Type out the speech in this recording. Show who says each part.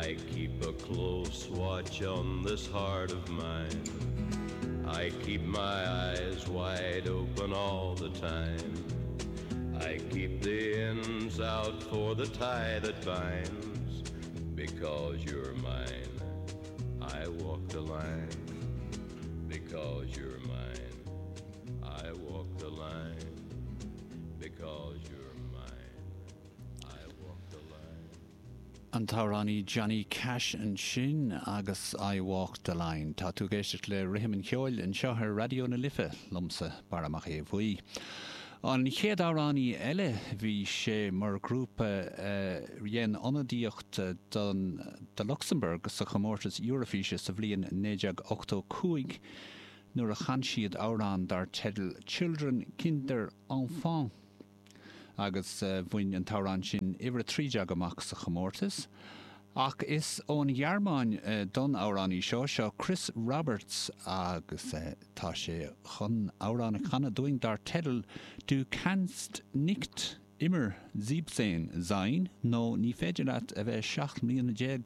Speaker 1: I keep a close watch on this heart of mine. I keep my eyes wide open all the time. I keep the ends out for the tie that binds because you're mine. I walk the line because you're mine. I walk the line because you're mine. I walk the line.
Speaker 2: An t-amhránaí Johnny Cash ansin agus I Walk the Line. Tá tú ag éisteacht le Rithim an Cheoil anseo ar Raidió na Life, liomsa, Barra Mac Aodha Bhuí. An chéad amhránaí eile, bhí sé mar ghrúpa a dhein ionadaíocht don do Lucsamburg sa chomórtas Eurofíse sa bhliain 1985 nuair a chan siad amhrán dar teideal Children, Kinder, Enfants agus bhain an t-amhrán sin uimhir 13 amach sa chomórtas. Ach is ón Ghearmáin don amhránaí seo, seo Chris Roberts agus tá sé chun amhrán a chanadh dúinn dar teideal Du kannst nicht immer siebzehn sein nó Ní féidir leat a bheith 17 mbliana.